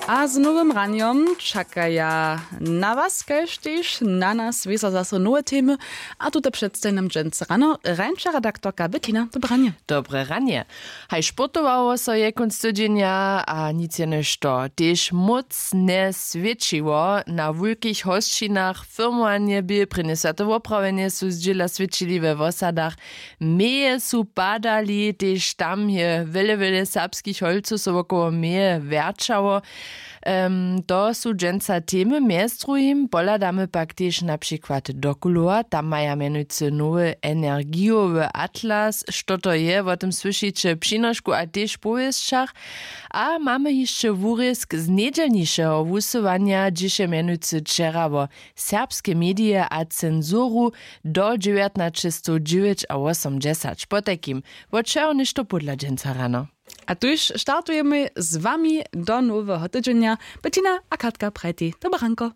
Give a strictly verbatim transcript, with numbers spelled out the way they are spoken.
A z nowym ranjom čakaja na was kaž tež na nas wězo zaso nowe temy. A tute předstaji nam dźensa rano rańša redaktorka Bettina. Dobranje. Dobre ranje. Haj sportowało so je kónc tydźenja a nic jenož to tež móc njeswědčiło na wulkich hosćinach. Firmowanje bě prěnje swjate woprawjenje su zdźěla swědčili we wosadach. Meje su padali tež tam je wjele wjele serbskich holcow so wokoło meje wjerćało. To su dźensa temy mjez druhim pohladamy pak tež na přikład do kulowa tam maja mjenujcy nowy energijowy atlas što to je wo tym słyšiće w přinošku a tež w powěsćach. A mamy hišće wurězk z njedźelnišeho wusyłanja hdźež je mjenujcy wčera wo serbske medije a censuru do dźewjatnaćestowdźewjećawosomdźesać potajkim. Wot čeho něšto pódla dźensa rano. A tuž startujemy z wami do noweho tydźenja. Bettina a katka prajtej dobre ranko.